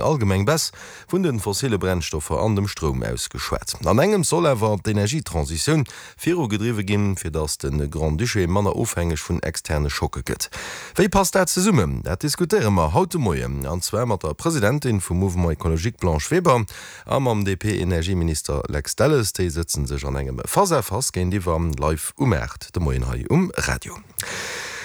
Allgemeng Baisse vun de fossille Brennstoffer an dem Stroum ausgeschwat. An engems soll awer d'Energietransitioun virugedriwwe ginn, fir datt de Grand-Duché manner ofhängeg vun externe Schocke gëtt. Wéi passt dat zesummen? Dat diskutéiere mer haut de Moien, an zwar mat der Presidentin vum Mouvement Ecologique Blanche Weber a mam DP-Energieminister Lex Delles. Déi sëtze sech an engem Face-à-face géintiwwer, live um 8 de Moien hei um Radio.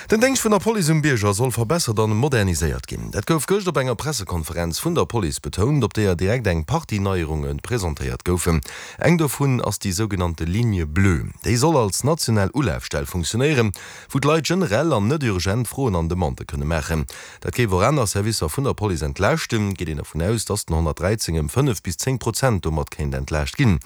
Den Déngscht vun der Police um Bierger soll verbessert an moderniséiert ginn. Dat gouf gëscht op enger Pressekonferenz vun der Police betount, op deeër direkt eng Partie Neierunge presentéiert goufen. Eng dovun ass déi sougenannte Ligne bleue. Déi soll als national Ulafstell funktionéieren, wou d'Leit generell an net urgent Froen an Demandë kënne maachen. Dat géif och aner Servicer vun der Police entlaaschten. Geet een dervun aus, datt den 113 ëm 5 bis 10 Prozent domat kéint entlaascht ginn.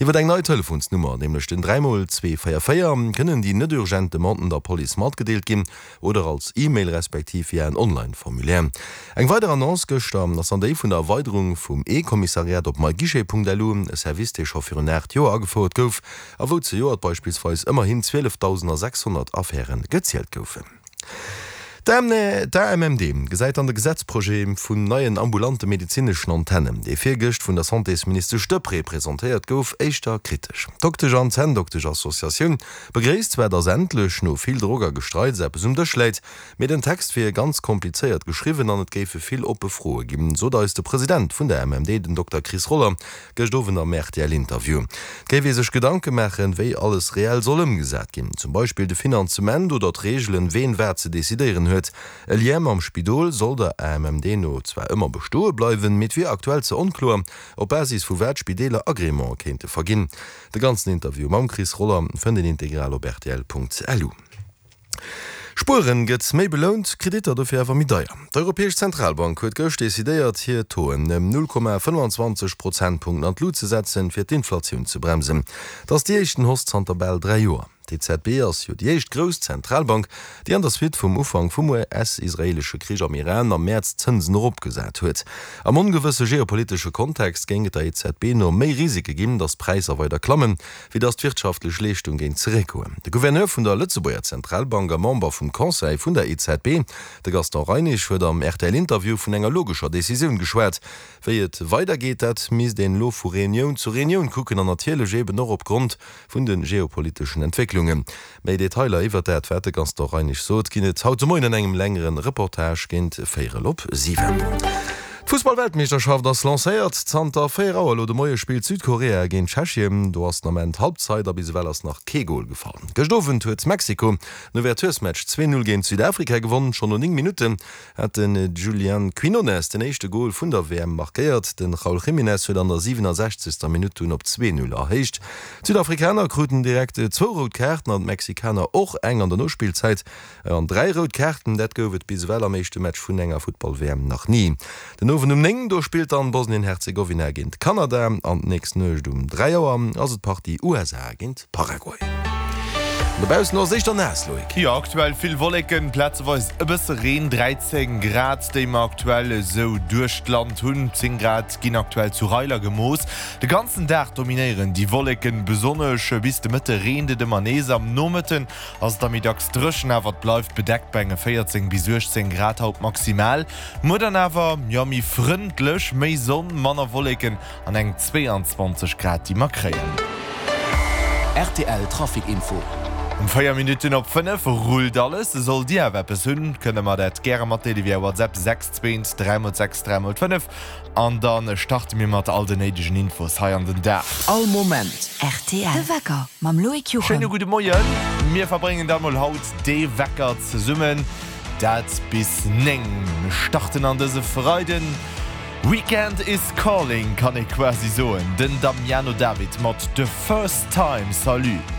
Iwwer eng nei Telefonsnummer, nämlech den 3 mol 2 4 4, kënnen déi net urgent Demanden der Police matgedeelt ginn oder als E-Mail respektiv via en Online-Formulaire. Eng weider Annonce gëschter ass dann déi vun der Erweiderung vum E-Kommissariat op myguichet.lu, e Service, dee scho virun 8 Joer agefouert gouf a wou zejoert beispillsweis ëmmerhin 12.600 Affäre gezielt goufen. D'AMMD gesäit an de Gesetzprojet vun neien ambulante medezineschen Antennen, dee virgëscht vun der Santésministesch Deprez presentéiert gouf, éischter kritesch. D'Doktesch an Zänndoktesch-Associatioun begréisst zwar, datt endlech, no vill Drock a Gestreits, eppes um Dësch läit, mee den Text wier ganz komplizéiert geschriwwen an et géife vill oppe Froe ginn, sot eis de President vun der AMMD, den Dokter Chris Roller, Gëscht Owend am RTL-Interview. Et géif ee sech Gedanke maachen, wéi alles reell soll ëmgesat ginn. Zum Beispill de Finanzement oder d'Reegelen, ween wat ze decidéieren huet. E Lien mam Spidol soll der AMMD no zwar ëmmer bestoe bleiwen, mee et wier aktuell ze onkloer, op Basis vu wat Spideeler Agreemente kéinte verginn. De ganzen Interview mam Chris Roller fënnt een integral op rtl.lu. Spueren gëtt méi belount, Kreditter dofir awer méi deier. D'Europäesch Zentralbank huet gëscht decidéiert, hir Tauxen ëm 0,25 Prozentpunkten an d'Lut ze setzen, fir d'Inflatioun ze bremsen. Et ass déi éischten Hausse zanter bal 3 Joer. D'EZB ass jo déi éischt grouss Zentralbank, déi an der Suite vum Ufank vum US-israeelesche Krich am Iran am Mäerz d'Zënsen eropgesat huet. Am ongewësse geopolitesche Kontext géing et der EZB no méi Risike ginn, datt d'Präisser weider klammen, wéi datt d'wirtschaftlech Leeschtung géing zeréckgoen. De Gouverneur vun der Lëtzebuerger Zentralbank a Member vum Conseil vun der EZB, de Gaston Reinesch, huet am RTL-Interview vun enger logescher Decisioun geschwat. Wéi et weidergeet, dat misst een elo vu Reunioun zu Reunioun kucken an natierlech eben och opgrond vun de geopoliteschen Entwécklungen. Méi Detailer iwwert dat, wat de Gaston Reinesch sot, ginn et haut de Moien an engem längere Reportage géint véierel op 7. D'Fussball-Weltmeeschterschaft ass lancéiert. Zanter 4 Auer elo de Moie spillt Südkorea géint Tschechien. Do ass den Ament Halbzeit a bis ewell ass nach kee Gol gefall. Gëscht Owend huet Mexiko den Ouverturesmatch 2, 0 géint Südafrika gewonn. Schonn no 9 Minutten hat de Julian Quinones den éischte Gol vun der WM markéiert. De Raul Jiménez huet an der 67. Minutt dunn op 2, 0 erhéicht. D'Südafrikaner kruten direkt zwou rout Kaarten an d'Mexikaner och eng an der Nospillzäit. An 3 rout Kaarten, dat gouf et bis ewell am éischte Match vun enger Futtball-WM nach ni. Den Owend um 9, do spillt dann Bosnien-Herzegowina géint Kanada an d'nächst Nuecht um 3 Auer ass et d'Partie USA géint Paraguay. An dobaussen ass et éischter naass, Loïc. Jo, aktuell vill Wolleken, plazeweis e bësse Reen, 13 Grad déi mer aktuell esou duerch d'Land hunn, 10 Grad ginn aktuell zu Reiler gemooss. De ganzen Dag dominéieren déi Wolleken, besonnesch bis de Mëtte reent et ëmmer nees. Am Nomëtten ass et da méi dacks dréchen, awer et bleift bedeckt bei enge 14 bis 18 Grad haut maximal. Muer dann awer, jo, méi frëndlech, méi Sonn, manner Wolleken an eng 22 Grad déi mer kréien. Rtl Trafic Info. Um 4 Minutten op 5 rullt alles. Sollt Dir awer eppes hunn, kënnt der mer dat gäre matdeele via WhatsApp 6 2 3 x 6 3 x 5 An da starte mir mat all den néidegen Infos hei an den Dag. All Moment rtl. De Wecker mam Loïc Juchem. Schéine gudde Moien. Mir verbréngen da mol haut dee Wecker zesummen, dat bis 9. Mir starten an dëse Freiden. Weekend is calling, kann ee quasi soen. Den Damiano David mat The First Time. Salut.